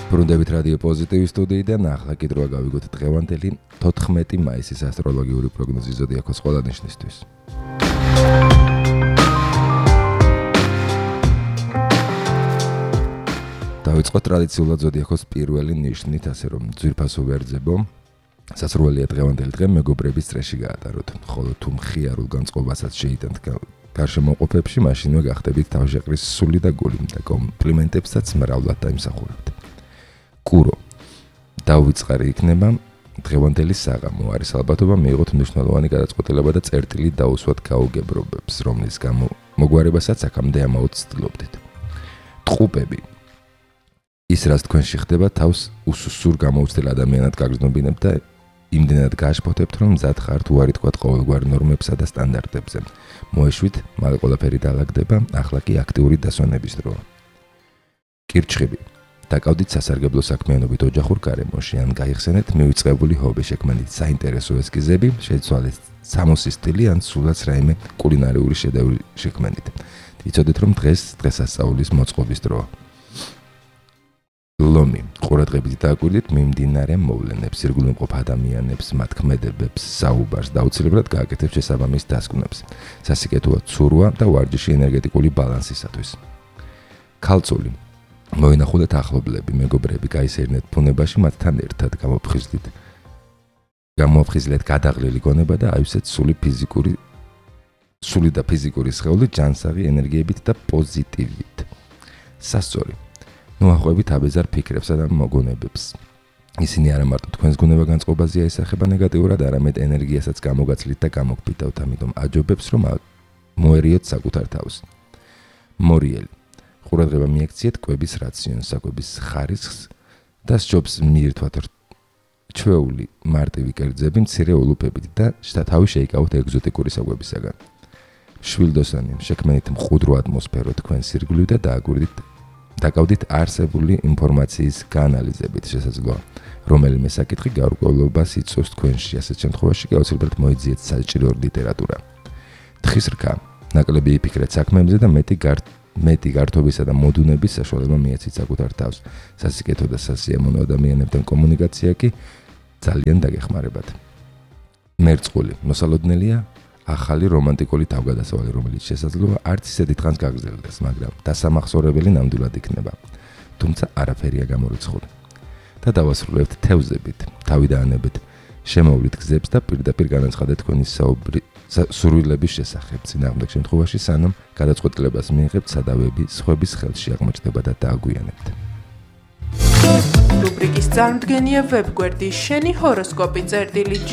ბრუნდებით რადიო პოზიტივის სტუდიიდან ახლა კიდევ გავიგოთ დღევანდელი 14 მაისის ასტროლოგიური პროგნოზი ზოდიაქოს ყველა ნიშნისთვის. დავიწყოთ ტრადიციულად ზოდიაქოს პირველი ნიშნით, ასე რომ ძვირფასო ვერძებო, სასურველია დღევანდელი დღე მეგობრების წრეში გაატაროთ, ხოლო თუ მხიარულ განწყობასაც შეიტანთ გარშემოყოფებში, მაშინვე გახდებით თავშეყრის სული და გული და კომპლიმენტებსაც მრავლად დაიმსახურებთ. კურო დავიწყარი იქნება დღევანდელი საღამო არის ალბათობა მიიღოთ მნიშვნელოვანი გადაწყვეტილება და წერტილი დაუსვათ გაუგებრობებს, რომლის გამო მოგვარებასაც აქამდე ამაოდ ცდილობდით. ტყუპები ის რაც თქვენში ხდება თავს უსუსურ გამოუცდელ ადამიანად გაგრძნობინებთ და იმდენად გააშფოთებთ, რომ მზად ხართ უარი თქვათ ყოველგვარ ნორმებსა და სტანდარტებზე. მოეშვით, მალე ყველაფერი დაალაგდება, ახლა კი აქტიური დასვენების დროა. კირჩხიბი დაკავდით სასარგებლო საქმიანობით ოჯახურ გარემოში, ან გაიხსენეთ მივიწყებული ჰობი შექმნით საინტერესო ესკიზები, შეცვალეთ სამოსის სტილი, ან სულაც რაიმე კულინარიული შედევრი შექმნით. იცოდეთ, რომ დღესასწაულის მოწყობის დროა. ლომი ყურადღებით დააკვირდით მიმდინარე მოვლენებს, ირგვლივმყოფ ადამიანებს, მათ ქმედებებს, საუბარს და აუცილებლად გააკეთებთ შესაბამის დასკვნებს. სასიკეთოა ცურვა და ვარჯიში ენერგეტიკული ბალანსისათვის. ქალწული მოინახულეთ ახლობლები, მეგობრები, გაისერნეთ ბუნებაში, მათთან ერთად გამოფხიზლეთ გადაღლილი გონება და აივსეთ სული და ფიზიკური სხეული ჯანსაღი ენერგიებით და პოზიტივით. სასწორი ნუახვევით აბეზარ ფიქრებსა და მოგონებებს. ისინი არა მარტო თქვენს გუნება განწყობაზეა ისახება ნეგატიურად, არამედ ენერგიასაც გამოგაცლით და გამოგფითავთ, ამიტომ აჯობებს, რომ მოერიოთ საკუთარ თავს. მორიელი ყურადღება მიექციეთ კვების რაციონს, საკვების ხარისხს და სჯობს მიირთვათ ჩვეული მარტივი კერძები მცირე ულუფებით და თავი შეიკავოთ ეგზოტიკური საკვებისაგან. შვილდოსანი შექმნით მყუდრო ატმოსფერო თქვენს ირგვლივ და დაკავდით არსებული ინფორმაციის გაანალიზებით, შესაძლოა რომელიმე საკითხი გაურკვევლობას იწვევს თქვენში, ასეთ შემთხვევაში აუცილებლად მოიძიეთ საჭირო ლიტერატურა. თხის რქა ნაკლები იფიქრეთ საქმეებზე და მეტი გართობისა და მოდუნების საშუალება მიეცით საკუთარ თავს. სასიკეთო და სასიამოვნო ადამიანებთან კომუნიკაცია კი ძალიან დაგეხმარებათ. მერწყული მოსალოდნელია ახალი რომანტიკული თავგადასავალი, რომელიც შესაძლოა არც ისე დიდხანს გაგრძელდეს, მაგრამ დასამახსოვრებელი ნამდვილად იქნება. თუმცა არაფერია გამორიცხული. და დავასრულებთ თევზებით, თავი დაანებეთ შემოვლით გზებს და პირდაპირ განაცხადეთ თქვენი სურვილების შესახებ. წინააღმდეგ შემთხვევაში სანამ გადაწყვეტილებას მიიღებთ, სადავები სხვების ხელში აღმოჩნდება და დააგვიანებთ. რუბრიკის წარმდგენია ვებგვერდი შენი ჰოროსკოპი წერტილი G.